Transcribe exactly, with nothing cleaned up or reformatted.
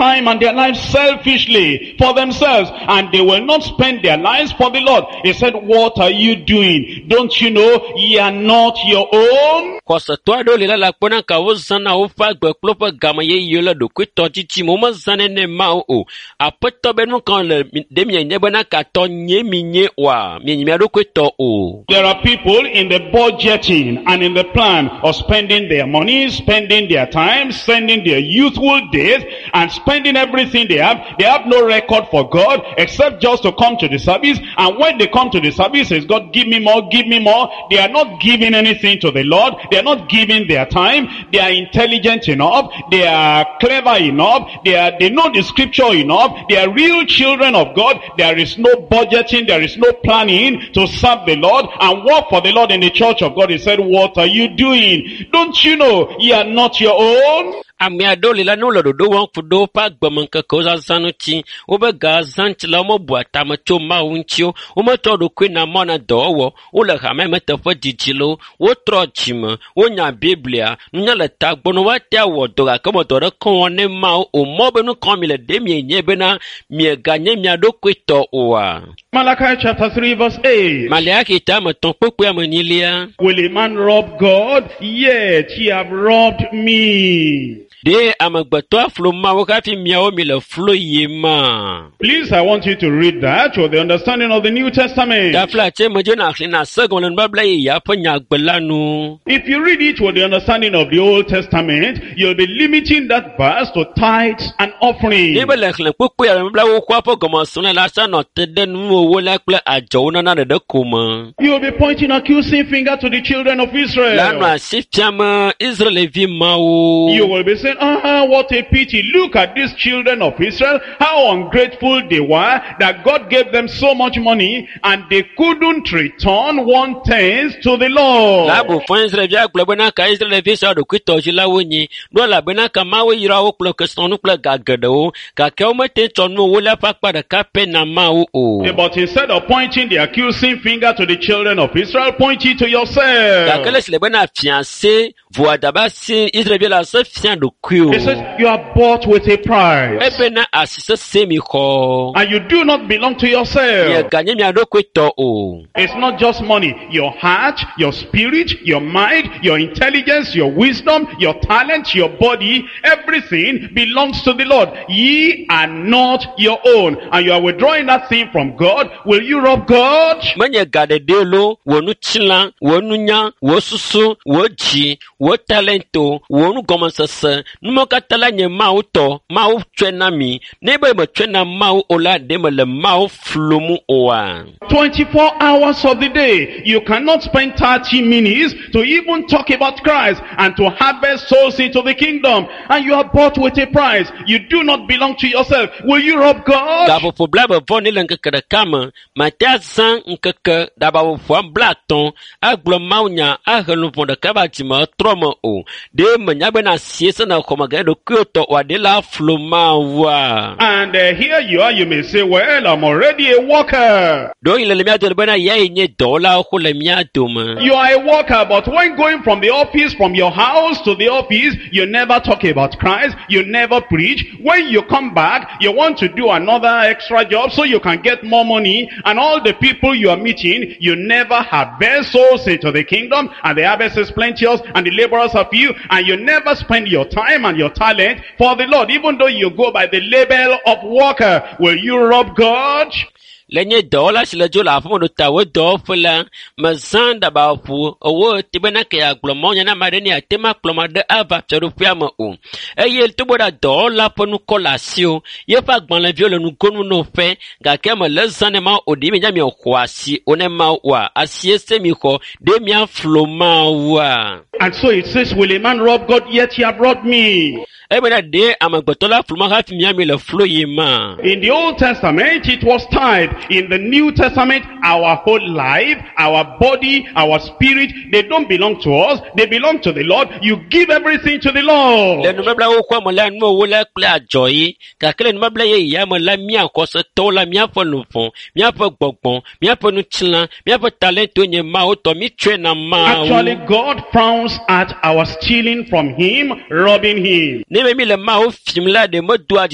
time and their lives selfishly for themselves, and they will not spend their lives for the Lord. He said, what are you doing? Don't you know ye are not your own? Xɔsetɔ aɖewo li la le akpɔna ka wozãna woƒe agbe kple woƒe game ɣeyiɣiwo le ɖokuitɔdidi me. Womezãnɛ ne Mawu o. Aƒetɔ be nu ka le mi- ɖe mienye bena katɔ nye mi nye oa? Mienye mia ɖokui tɔ o. There are people in the budgeting and in the plan of spending their money, spending their time, spending their youthful days, and spending everything they have. They have no record for God except just to come to the service. And when they come to the service, says, God, give me more, give me more. They are not giving anything to the Lord. They are not giving their time. They are intelligent enough. They are clever enough. They are, they know the scripture enough. They are real children of God. There is no budgeting. There is no planning to serve the Lord and work for the Lord in the church of God. He said, what are you doing? Don't you know ye are not your own? Ame aɖewo li la ne wole ɖoɖo wɔm ku ɖe woƒe agbemeŋkekewo zazã ŋuti, woƒe ga zã ŋuti la womebua tame tso Mawu ŋuti o. Wometsɔ ɖokui na mɔ na dɔwɔwɔ. Wole hame me teƒe didi loo. Wotrɔ dzime, wonya Biblia, nunya le tagbɔ ne woate awɔ dɔ gake me dɔ ɖeke wɔm ne Mawu o. Mɔ be nu ka mi le ɖe mienye bena mieganye mia ɖokui tɔ oa? Malachi chapter three verse eight. Maleaki ta ame etɔ̃ kpukpui ame enyilia. Will a man rob God? Yet ye have robbed me. Ɖe amegbetɔ aflo Mawu hafi miawo mi le flo yim ma? Please, I want you to read that with the understanding of the New Testament. Tafla tse medze na xlẽ na se gɔme le nubabla yeyea ƒe nyagbe la nu. If you read it with the understanding of the Old Testament, you'll be limiting that verse to tithes and offering. Ne be le xlẽ kpukpui ya nubabla xoxoa ƒe gɔmesrɔ̃ la sa nɔ te ɖe nuwɔwɔ la kple adzɔwo nana ɖeɖe ko me. You'll be pointing accusing finger to the children of La nɔ Israel. asi fiam Israelvi mawo. You will be saying, ah, what a pity. Look at these children of Israel, how ungrateful they were that God gave them so much money and they couldn't return one tenth to the Lord. Labu fɔ Israelvi agblɔ bena ka Israelvi sia ɖokuitɔdzilawo nyi. Ɖo elabena ka Mawu yra wo kple kesinɔnu kple ga geɖewo gake womete tsɔ nuwo le ƒe akpa ɖeka pɛ na Mawu o. But instead of pointing the accusing finger to the children of Israel, point it to yourself. Gake le si le bena fia se voadaba si Israelvi la se fia ɖokuiwo. He says, you are bought with a price. Ebena asi sese mi xɔ. And you do not belong to yourself. Mieganye mia ɖokui tɔ o. It's not just money. Your heart, your spirit, your mind, your intelligence, your wisdom, your talent, your body, everything belongs to the Lord. Ye are not your own. And you are withdrawing that thing from God. Will you rob God? Menye ga ɖeɖe lo, wò ŋutilã, wò nunya, wò susu, wò dzi, wò talento, wò nugɔmesese, numawo katã la nye Mawu tɔ. Mawu tsɔe na mi. Ne be metsɔe na Mawu o la, ɖe mele Mawu flum oa? twenty-four hours of the day, you cannot spend thirty minutes to even talk about Christ and to harvest souls into the kingdom. And you are bought with a price. You do not belong to yourself. Will you rob God? Gaƒoƒo blaeve vɔ ne le ŋkeke ɖeka me, mate azã ŋkeke ɖabaƒoƒoa blaatɔ̃ agblɔ Mawunya ahe luʋɔ ɖeka va dzime trɔ me o. Ɖe menya bena asie se ne xɔ meganye ɖokuiwò tɔ oa, ɖe la flo Mawua? And uh, here you are, you may say, well, I'm already a worker. Ɖewohĩ le le mía dome bena yae nye dɔwɔlawo xo le mía dome. You are a worker, but when going from the office, from your house to the office, you never talk about Christ, you never preach. When you come back, you want to do another extra job so you can get more money, and all the people you are meeting, you never harvest souls into the kingdom, and the harvest is plenteous, and the laborers are few, and you never spend your time and your talent for the Lord, even though you go by the label of worker. Will you rob God? Le nye dɔwɔla si le dzo le aƒeme ɖo ta wo dɔwɔƒe la, mezã ɖabaƒo ewo te bena ke yeagblɔ mawunya na ame aɖe ne yeate ŋu akplɔ ame aɖe ava fiaɖuƒea me o. Eye togbɔ ɖe dɔwɔla ƒe ŋkɔ le asiwò, yeƒe agbalẽviwo le nugonu na woƒe gake mele zã ne Mawu o. Ɖe mienya miexɔ asi o ne Mawu oa? Asie se mi xɔ, ɖe miaflo Mawua? And so it says, will a man rob God? Yet he have robbed me. Ebena ɖe amegbetɔ la flu ma hafi miami le flo yim ma? In the Old Testament, it was tithe. In the New Testament, our whole life, our body, our spirit, they don't belong to us. They belong to the Lord. You give everything to the Lord. Le nubabla xoxoa me la, nuwo la kple adzɔ yi. Gake le nubabla yeyea me la, mía xɔsetɔwo la, míaƒe luʋɔ, míaƒe gbɔgbɔ, míaƒe ŋutilã, míaƒe talento nye Mawu tɔ. Mítsɔe na Mawu. Actually, God frowns at our stealing from him, robbing him. Ne be mi le Mawu fim la, ɖe medoa dzidzɔ